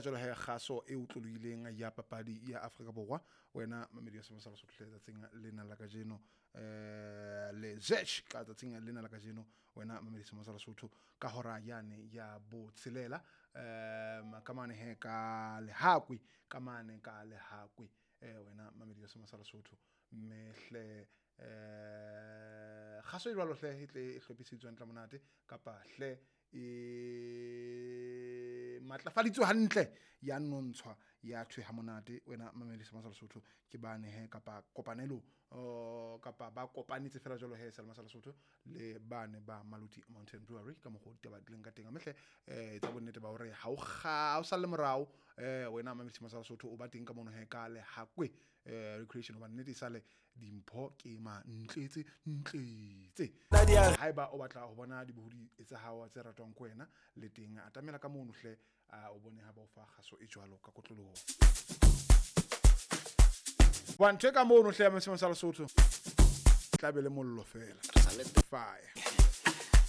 Feela jwalo he kgaso e otlolohileng ya papadi ya Afrika Borwa. Wena mamedi wa Sema sa Lesotho hle tsatsing lena la kajeno, le Zech ka tsatsing lena la kajeno, wena mamedi Sema sa Lesotho ka hora yane ya botshelela, ka mane he ka Lehakwe, ka mane ka Lehakwe, wena mamedi wa Sema sa Lesotho. Mme hle kgaso e jwalo hle e tle e hlophiseditswe hantle monate, kapa hle e matlafaditswe hantle, ya nontshwa ya thwe ha monate. Wena mamedi Sema sa Lesotho ke bane he kapa kopanelo, kapa ba kopanetse fela jwalo he Selema sa Lesotho le bane ba Maluti Mountain Brewery ka mokgwa o ditaba di leng ka teng. Mme hle etsa bonnete ba hore ha o salle morao, wena mamedi Sema sa Lesotho o ba teng ka mono he ka Lehakwe recreation, hobane nnete e sale dimpho ke ma ntletse ntletse. Haeba o batla ho bona dibohodi tsa hao tse ratwang ke wena le teng, atamela ka mono hle, o bone ha ba o fa kgaso e jwalo ka kotloloho. Wa ntho e ka mono hle ya Sema sa Lesotho tla be le mollo fela. Fire.